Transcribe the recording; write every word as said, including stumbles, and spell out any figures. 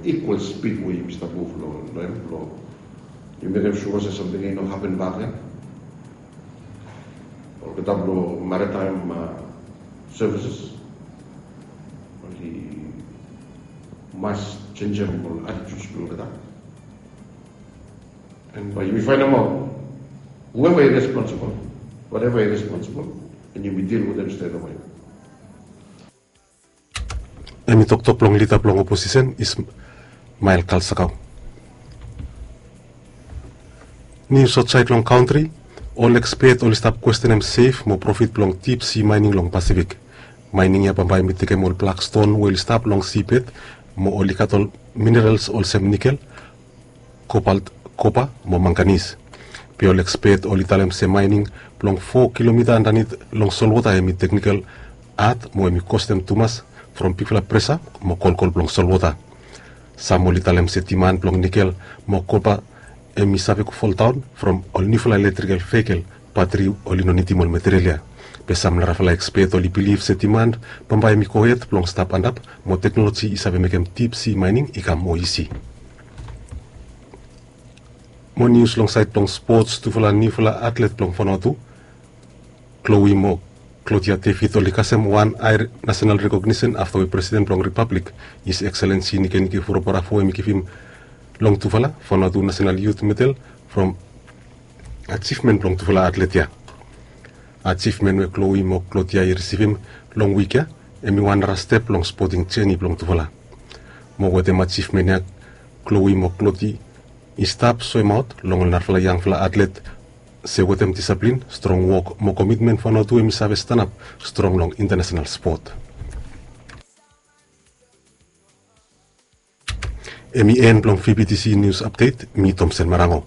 Equal speed we yumi stap muv long hem blong yumi mekem sua se samting i no hapen bak ya. Olgeta blong maritime services oli mas jenjem ol attitudes blong olgeta. And bae yumi fainemaot whoever is responsible, whatever is responsible, and yumi deal with them straight away. Hem i toktok blong lida blong oposisen Ismael Kalsakau. Nius aotsaed long kantri. Ol ekspet oli stap kwestenem sef mo profit blong dip si maening long Pasifik. Maening ya bambae hem i tekem ol blak ston we oli stap long sibed mo oli gat ol minerals olsem nikel, kobalt, kopa mo manganis. Be ol ekspet oli talem se maening blong fo kilomita andanit long solwota hem i teknikel ad mo hem i kostem tumas from bigfala presa mo kolkol blong solwota. Sam oli talem se diman blong nikel mo kopa hem i save go foldaon from ol niufala iletrikel vehikel batri oli no nidim ol material ya. Be sam narafala ekspet oli bilif se diman bambae hem i gohed blong stap antap mo teknoloji i save mekem dip si maening i kam moa isi. Mo nius long saed blong spots, tufala niufala atlet blong Vanuatu, Chloe mo Claudia David, oli kasem wan ae nasenal rekognisen afta we presiden blong ripablik, His Excellency Nikenike Vurobara fo hem i givim long tufala Vanuatu Nasenal Yut Medel from ajivmen blong tufala atlet ya. Ajivmen we Chloe mo Claudia i risivim long wik ya hem i wan nara step long spoting jeni blong tufala. Mo wetem ajivmen ya Chloe mo Claudia i stap soemaot long ol narafala yangfala atlet se wetem disaplin, strong wok mo komitmen Vanuatu hem i save stanap strong long intanasenal spot. Hem i en blong VBTC nius apdet. Mi Tomsen Marango.